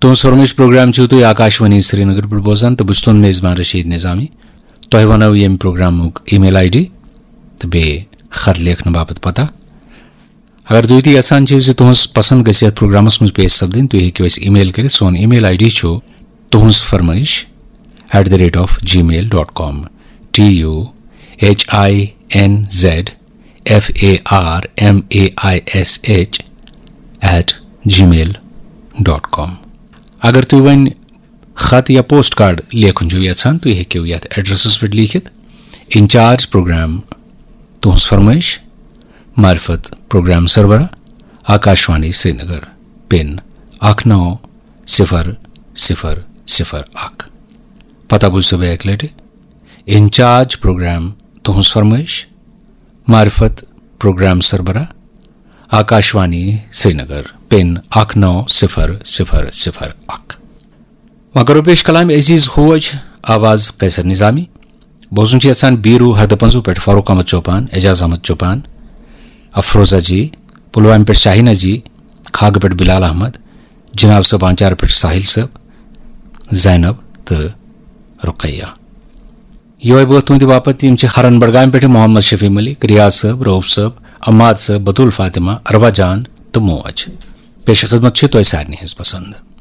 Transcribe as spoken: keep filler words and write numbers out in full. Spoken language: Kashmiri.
تُہٕنٛز فرمٲیش پروگرام چھِو تُہۍ آکاشوانی سرینگر پٮ۪ٹھ بوزان تہٕ بہٕ چھُس تُہُنٛد میزبان رشید نظامی۔ تۄہہِ وَنو ییٚمہِ پروگرامُک email ID تہٕ بیٚیہِ خط لیکھنہٕ باپتھ پتہ۔ اگر تُہۍ تہِ یژھان چھِو زِ تُہٕنٛز پسند گژھِ یتھ پروگرامس منٛز پیش سپدٕنۍ، تُہۍ ہیٚکِو اَسہِ email کٔرِتھ۔ سون email ID چھُ تُہٕنٛز فرمٲیش at the rate of gmail dot com, T U H I N Z F A R M A I S H at gmail dot com. اگر تُہۍ وۄنۍ خط یا پوسٹ کارڈ لیکھُن چھِو یژھان، تُہۍ ہیٚکِو یتھ ایڈریسس پٮ۪ٹھ لیکھِتھ: انچارج پروگرام، تُہٕنٛز فرمٲیش، معرفت پروگرام سربراہ، آکاشوانی سرینگر، پن اکھ نو صفر صفر صفر اکھ۔ پتہ بوٗزتو بیٚیہِ اکہِ لٹہِ: انچارج پروگرام، تُہٕنٛز فرمٲیش، معرفت پروگرام سربراہ، آکاشوانی سرینگر، پن اکھ نو صفر صفر صفر اکھ۔ وۄنۍ کرو پیش کلام عزیز ہوج، آواز قیصر نظامی۔ بوزُن چھِ یژھان بیٖروٗ ہردٕ پنٛزوٗ پٮ۪ٹھ فاروق احمد چوپان، اعجاز احمد چوپان، افروزہ جی، پلوامہِ پٮ۪ٹھ شاہینہ جی، کھاگہٕ پٮ۪ٹھ بلال احمد، جناب صٲب آنچار پٮ۪ٹھ ساحل صٲب، زینب تہٕ رقیہ۔ یِہوٚے بٲتھ تُہنٛدِ باپتھ، یِم چھِ ہرن بڈگامہِ پٮ۪ٹھ محمد شفیع ملک، ریاض صٲب، رؤف صٲب، عماد صٲب، بتول فاطمہ، اروا جان تہٕ موج۔ پیش خدمت چھِ تۄہہِ سارنٕے ہٕنٛز پسند۔